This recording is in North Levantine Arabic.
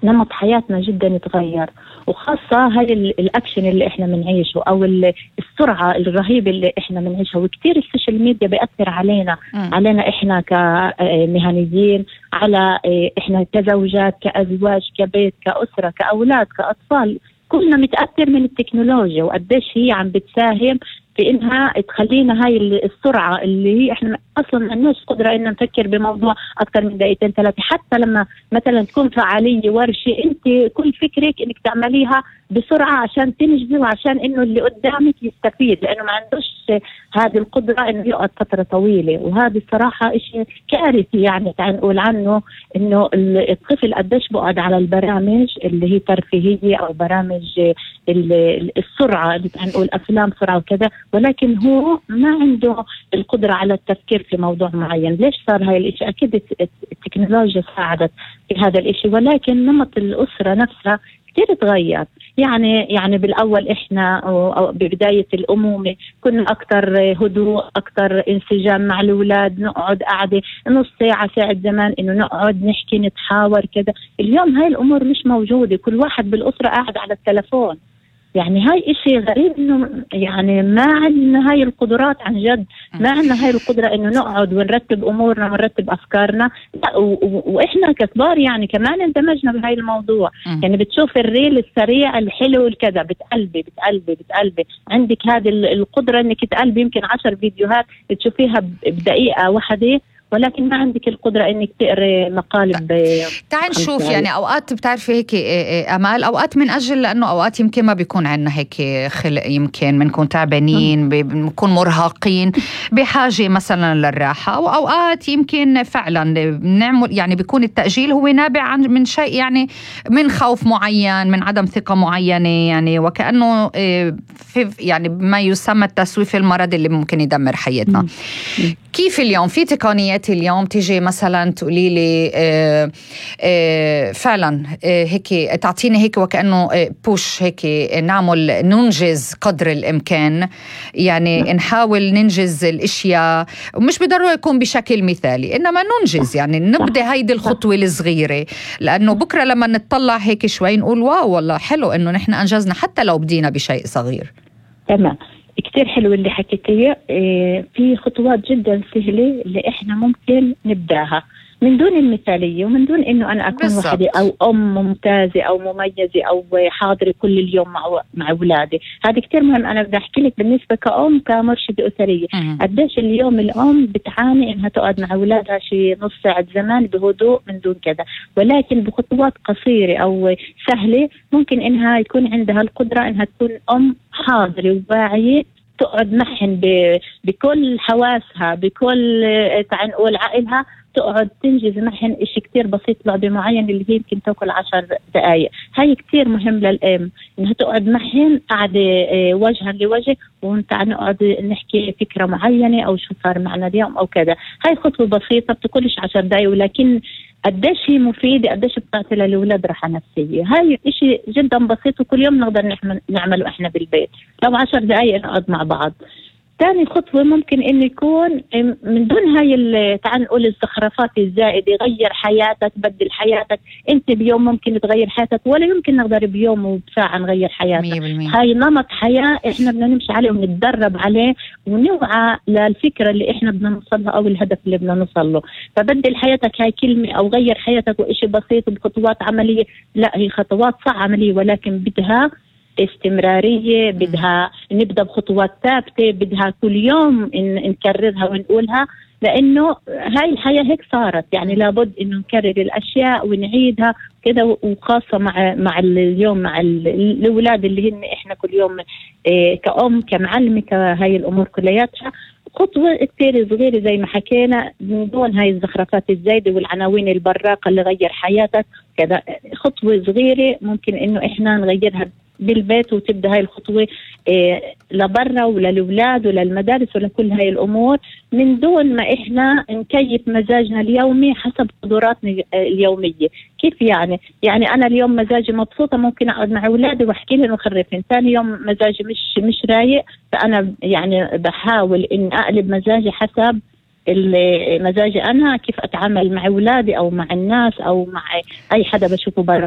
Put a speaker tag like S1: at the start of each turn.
S1: نمط حياتنا جدا يتغير، وخاصة هاي الأكشن اللي إحنا بنعيشه أو السرعة الرهيبة اللي إحنا بنعيشها. وكتير السوشيال ميديا بيأثر علينا إحنا كمهنيين، على إحنا كزوجات، كأزواج، كبيت، كأسرة، كأولاد، كأطفال. كلنا متأثر من التكنولوجيا، وقديش هي عم بتساهم في إنها تخلينا هاي السرعة اللي هي إحنا أصلاً ما عندناش قدرة إن نفكر بموضوع أكثر من دقيقتين ثلاثة. حتى لما مثلاً تكون فعالية ورشة، أنت كل فكرك إنك تعمليها بسرعة عشان تنجزي وعشان إنه اللي قدامك يستفيد، لأنه ما عندوش هذه القدرة إنه يقعد فترة طويلة. وهذا الصراحة إشي كارثي، يعني تعال نقول عنه إنه الطفل قديش بقعد على البرامج اللي هي ترفيهية أو برامج السرعة اللي تعال نقول أفلام سرعة وكذا، ولكن هو ما عنده القدرة على التفكير في موضوع معين. ليش صار هاي الاشي؟ اكيد التكنولوجيا ساعدت في هذا الاشي، ولكن نمط الاسرة نفسها كتير تغير. يعني بالاول احنا ببداية الامومة كنا اكتر هدوء، اكتر انسجام مع الاولاد، نقعد قاعدة نص ساعة ساعة زمان انه نقعد نحكي نتحاور كذا. اليوم هاي الامور مش موجودة، كل واحد بالاسرة قاعد على التلفون. يعني هاي إشي غريب إنه يعني ما عندنا هاي القدرات عن جد، ما عندنا هاي القدرة إنه نقعد ونرتب أمورنا ونرتب أفكارنا. وإحنا ككبار يعني كمان اندمجنا بهاي الموضوع. يعني بتشوف الريل السريع الحلو الكذا، بتقلبي عندك هذه القدرة إنك تقلبي يمكن 10 فيديوهات تشوفيها بدقيقة واحدة، ولكن ما عندك القدرة انك تقري مقالب.
S2: تعال نشوف يعني اوقات بتعرفي هيك امال، اوقات من اجل لانه اوقات يمكن ما بيكون عندنا هيك خلق، يمكن بنكون تعبانين، بنكون مرهقين بحاجة مثلا للراحة، واوقات يمكن فعلا بنعمل يعني بيكون التأجيل هو نابع من شيء، يعني من خوف معين، من عدم ثقة معينة، يعني وكأنه في يعني ما يسمى التسويف المرضي اللي ممكن يدمر حياتنا. كيف اليوم في تقنيات اليوم تيجي مثلا تقولي لي فعلا هيك تعطيني هيك وكأنه بوش هيك ننجز قدر الإمكان، يعني نحاول ننجز الاشياء، ومش بضروري يكون بشكل مثالي، انما ننجز، يعني نبدأ هيدي الخطوة الصغيرة، لانه بكرة لما نتطلع هيك شوي نقول واو والله حلو انه نحن انجزنا حتى لو بدينا بشيء صغير.
S1: تمام، كتير حلو اللي حكيتيه. في خطوات جدا سهلة اللي احنا ممكن نبداها من دون المثالية، ومن دون انه انا اكون وحدي او ام ممتازة او مميزة او حاضرة كل اليوم مع اولادي. هذا كتير مهم. انا بدي احكي لك بالنسبة كأم كمرشدة اسرية قديش اليوم الام بتعاني انها تقعد مع اولادها شي نص ساعة زمان بهدوء من دون كذا، ولكن بخطوات قصيرة او سهلة ممكن انها يكون عندها القدرة انها تكون ام حاضرة وواعية، تقعد معهن بكل حواسها، بكل تعال نقول عقلها، تقعد تنجز معهن إشي كتير بسيط، لعبة معين اللي هي يمكن تاكل 10 دقايق. هاي كتير مهم للأم إنها تقعد معهن قاعدة وجها لوجه، ونتع نقعد نحكي فكرة معينة أو شو صار معنا اليوم أو كذا. هاي خطوة بسيطة بتاكلش 10 دقايق، ولكن قديش هي مفيدة، قديش بتعطي للأولاد راحة نفسية. هاي إشي جدا بسيط وكل يوم نقدر نعمله إحنا بالبيت، لو 10 دقايق نقعد مع بعض. ثاني خطوة ممكن إنه يكون من دون هاي تعال نقول الزخرفات الزائدة، غير حياتك، بدل حياتك. أنت بيوم ممكن تغير حياتك، ولا يمكن نقدر بيوم وبساعة نغير حياتك. هاي نمط حياة إحنا بدنا نمشي عليه ونتدرب عليه ونوعى للفكرة اللي إحنا بدنا نوصلها أو الهدف اللي بدنا نوصل له. فبدل حياتك هاي كلمة، أو غير حياتك وإشي بسيط بخطوات عملية. لا، هي خطوات صح عملية، ولكن بدها استمرارية، بدها نبدأ بخطوات ثابتة، بدها كل يوم نكررها ونقولها، لأنه هاي الحياة هيك صارت. يعني لابد إنه نكرر الأشياء ونعيدها كده، وخاصة مع اليوم مع الأولاد اللي هن إحنا كل يوم كأم كمعلمة كهاي الأمور كلياتها. خطوة كتير صغيرة زي ما حكينا، من دون هاي الزخرفات الزايدة والعناوين البراقة اللي غير حياتك كذا. خطوة صغيرة ممكن إنه إحنا نغيرها بالبيت، وتبدأ هاي الخطوة لبرا وللأولاد وللمدارس ولكل هاي الأمور، من دون ما إحنا نكيف مزاجنا اليومي حسب قدراتنا اليومية. كيف يعني أنا اليوم مزاجي مبسوطة، ممكن أقعد مع أولادي وأحكي لهم وخرفهم. ثاني يوم مزاجي مش رايق، فأنا يعني بحاول إن أقلب مزاجي حسب مزاجي أنا، كيف أتعامل مع أولادي أو مع الناس أو مع أي حدا بشوفه برا.